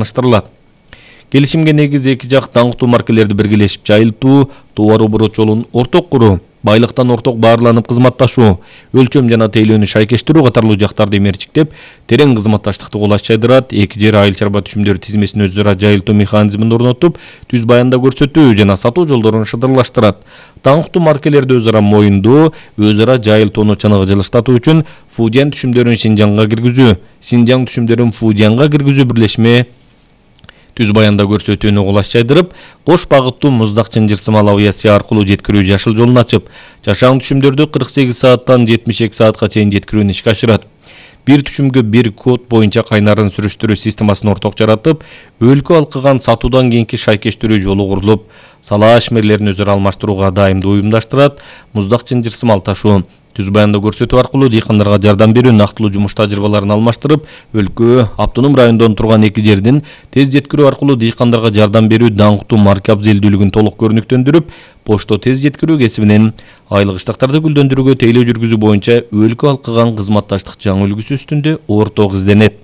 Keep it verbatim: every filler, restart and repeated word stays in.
таныштырылат. Келишимге негиз эки жак даңктуу маркелерди биргелешип жайылтуу, товар оборот жолун орток куруу, байлыктан орток баарланып кызматташуу, өлчөм жана тейлөөнү шайкештирүү катарлуу жактарды мерчиктеп, терең кызматташтыкты кулаш жайдырат, эки жер айыл чарба түшүмдөрү тизмесин өз ара жайылтуу механизмин орнотуп, түз баянда көрсөтүү жана сатуу жолдорун шыдырлаштырат. Даңктуу маркелерди өз ара моюндоо, өз ара жайылтууну чыныгы жылыштатуу үчүн Фудиян түшүмдөрүн Шинжаңга киргизүү, Шинжаң түшүмдөрүн Фудиянга киргизүү бирлешме түз баянда көрсөтүүнү кулаш жайдырып, кош багыттуу муздак чынжырсымал авиация аркылуу жеткирүү жашыл жолун ачып, жашаң түшүмдөрдү кырк сегиз сааттан жетимиш эки саатка чейин жеткирүүнү ишке ашырат. Бир түшүмгө бир код боюнча кайнарын сүрүштүрүү системасын орток жаратып, өлкө алкыган сатуудан кийинки шайкештирүү жолу курулуп, сала ашмерлерин өзара алмаштырууга дайымдуу уюмдаштырат. Муздак чынжырсымал ташуу түз баянда көрсөтүү аркылуу дыйкандарга жардам берүү, нактылуу жумуш тажрыйбаларын алмаштырып, өлкө, автоном райондон турган эки жердин тез жеткирүү аркылуу дыйкандарга жардам берүү даңктуу марка абзелдүүлүгүн толук көрүнүктөндүрүп, почто тез жеткирүү кесибинен айлык иштактарды гүлдөндүрүүгө тейлөө жүргүзүү боюнча өлкө алкыган кызматташтык жаңы үлгүсү үстүндө орток изденет.